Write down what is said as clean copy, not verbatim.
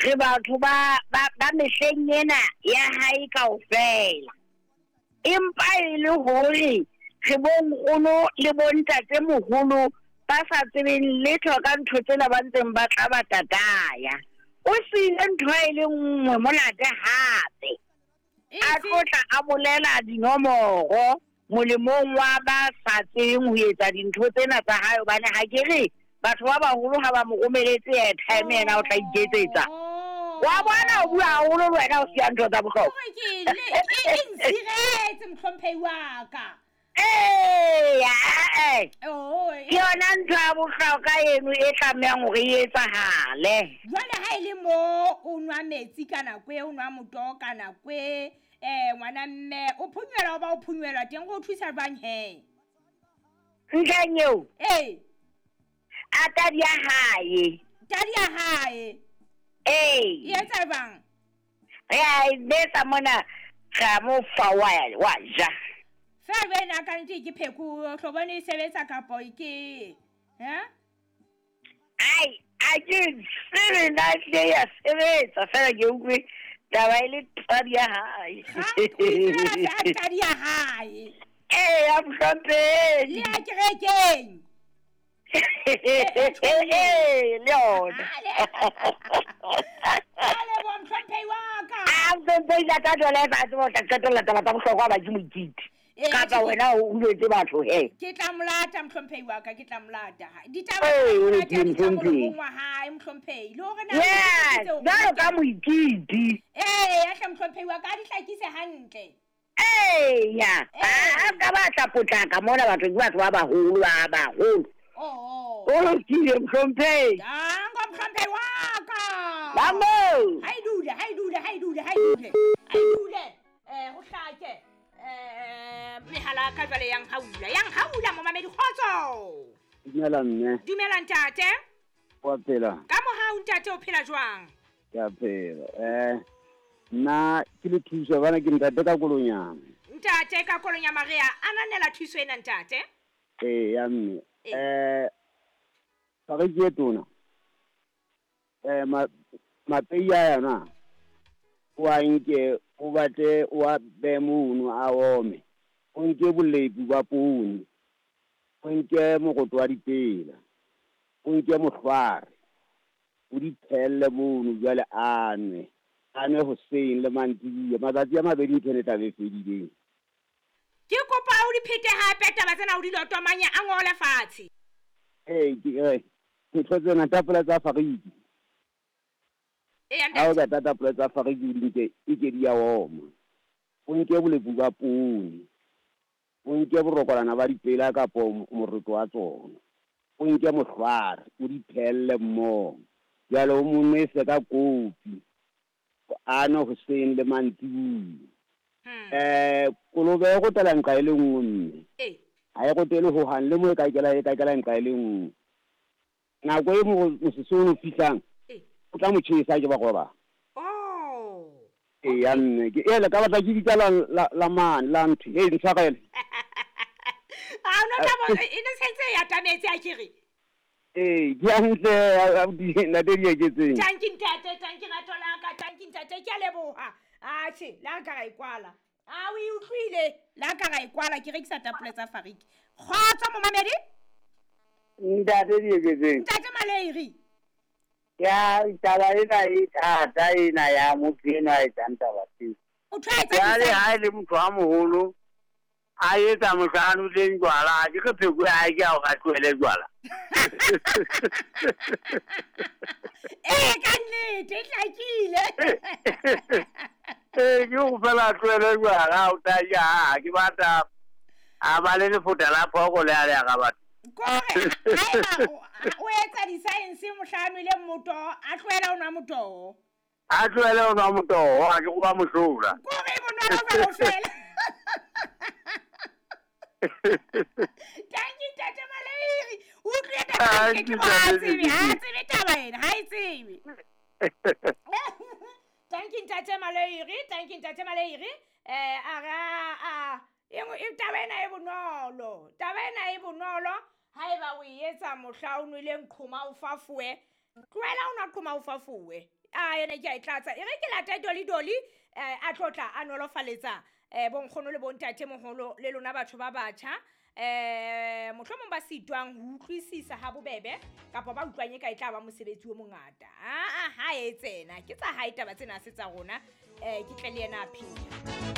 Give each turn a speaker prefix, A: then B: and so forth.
A: Re batho ba, ba, ba mehleng ena ya hae kaofela. Empa e le hore re bo nkgono le bo ntatemoholo ba sa tsebeng letho ka ntho tsena ba ntseng ba tla ba tataya. O siile ntho e le nngwe monate hape. A tlo tla a bolela dinomoro molemong wa ba sa tsebeng ho etsa dintho tsena tsa hae, hobane ha ke re batho ba baholo ha ba mo romeletse airtime yena o tla iketsetsa. Wa bona o bua haholo le wena o siya ntho tsa bohlokwa.
B: Hore ke le e ntshiretse mohlomphehi wa ka.
A: Eya, eh.
B: Oh,
A: Ke yona ntho ya bohlokwa eno e tlamehang hore e etsahale.
B: Jwale ha e le mo o nwa metsi ka nako e, o nwa motoho ka nako e, ngwana mme o phunywelwa o ba o phunywelwa teng go o thusa jwang he?
A: Ntlheng eo?
B: Ee.
A: A tadi ya hae.
B: Tadi ya hae.
A: Ee.
B: E etsa jwang?
A: Re a e betsa mona, ra mo fa wa, wa ja.
B: Fela jwale na ka nnete ke pheko, o tlo bone e sebetsa kapo ke, ha?
A: Ai, a ke tsebe na ehlile ya sebetsa, fela ke utlwe taba e le tadi ya hae.
B: Ha, o itsebela fela tadi ya hae.
A: Ee, ya mohlomphehi.
B: Le ya kerekeng.
A: Ee, le yona.
B: A leboha mohlomphehi wa ka.
A: A mohlomphehi la tla jwale fa tseba o tla qetella taba tsa bohlokwa ba ke moititi.
B: Ee,
A: Kapa
B: ke-
A: wena o uletse batho he.
B: Ke tla molata mohlomphehi wa ka, ke tla molata. Ditaba
A: Ee,
B: tsa
A: o
B: monate
A: lokile,
B: di tla
A: mohlomphehi.
B: molomong wa hae mohlomphehi. Le hore na
A: Yes,
B: o
A: jwalo ka moititi.
B: Ee, ya hle mohlomphehi wa ka, a di hlakise hantle.
A: Eya, a ka ba tla potlaka mona batho ke batho ba baholo ba baholo.
B: Oh.
A: O lokile mohlomphehi.
B: Danko mohlomphehi wa ka.
A: Bamo.
B: Ha e dule, ha e dule, ha e dule, ha e dule. Ha e dule. Ho hlake. Mehala ka jwale yang haula, yang haula momamedi kgotso.
C: Dumela mme.
B: Dumela ntate.
C: Wa phela.
B: Ka mohau ntate o phela jwang?
C: Ke a phela. Nna ke le thuso bana ke ntate ka kolonyana.
B: Ntate ka kolonyana re a ananela thuso ena ntate.
C: Ee, ya mme.
B: Ee.
C: Fariki e tona. Mapei a yona o a nke o batle o a behe mono a ome. O nke bolepi ba poone, o nke moroto wa dipela, o nke mohlware, o di phehelle mono jwale a nwe. A nwe hoseng le mantsibuya, matsatsi a mabedi ntho ena e tla be e fedileng.
B: Ke kopa o di phete hape taba tsena o di lotomanye a ngole fatshe.
C: Ee, ke re, ntho tsena tapole tsa fariki.
B: Ee,
C: Ha o
B: ntate.
C: ka tapole tsa fariki o di nke, e ke di a oma. O nke bolepu ba poone, o nke borokolana ba dipela kapo moroto wa tsona, o nke mohlware, o di phehelle mmoho. Jwale o mo nwese ka kopi, a nwe hoseng le mantsibuya. Kolobe e rotela nqa e le nngwe mme.
B: Ee.
C: Ha e rotele hohang, le mo e ka kela, e ka kela nqa e le nngwe. Nako e mosese o no fihlang,
B: Ee.
C: o tla mo tjhesa ke ba roba.
B: Oh.
C: Ee, ya mme. Ke, ele, ka batla ke bitsa la, la, la mane, la ntho. Hey, ntshwarele.
B: Ha o no tla bo, e ne sentse e atametse a ke re.
C: Ee, ke hantle, abuti, ntate Dieketseng.
B: Tanki ntate, tanki rato la ka, tanki ntate, ke a leboha. Atjhe, la ka ra e kwala. A o e utlwile, la ka ra e kwala, ke rekisa tapole tsa fariki. Kgotso momamedi?
D: Ntate Dieketseng.
B: Ntate Maleiri.
D: Ya, taba ena e thata ena ya motho enwa a etsang taba tseo.
B: O tshwaetsa
D: Jwale
B: ditsela.
D: ha e le motho a moholo, a etsa mohla a nweleng jwala, ha ke re pheko ya hae ke ya hore a tlohele jwala.
B: Ee, ka nnete, e hlakile.
D: Ee, ke ho fela a tlohele jwala, o tla ja, ha ke batla a ba le lefota la phoko le a le ya ka batho.
B: Kore, haeba o etsa di-science mohla a nweleng motoho, a tlohele ho nwa motoho.
D: A tlohele ho nwa motoho, ha ke go ba mohlola.
B: Kore e bonolo jwalo fela. Thank you, Ntate Maleiri. O utlwile taba
D: Thank
B: e
D: you,
B: ke ha
D: Ntate
B: tsebe, ha
D: Maleiri.
B: tsebe taba ena, ha e tsebe. Thank you, Ntate Maleiri. Thank you, Ntate Maleiri. A re, a, e nngwe, e, taba ena e bonolo. Taba ena e bonolo. Haeba o e etsa mohla o nweleng qhoma o fafowe, tlohela o nwa qhoma o fafowe. A ene ke a e tlatsa. E re ke late Dolly Dolly a tlo tla a nolofaletsa bonkgono le bontate moholo le lona batho ba batjha mohlomong ba sitwang ho utlwisisa ha bobebe kapa ba utlwang e ka e tla ba mosebetsi o mongata. Aa ha e tsena ke tsa hae taba tsena se tsa rona, ke tle le yena a phela.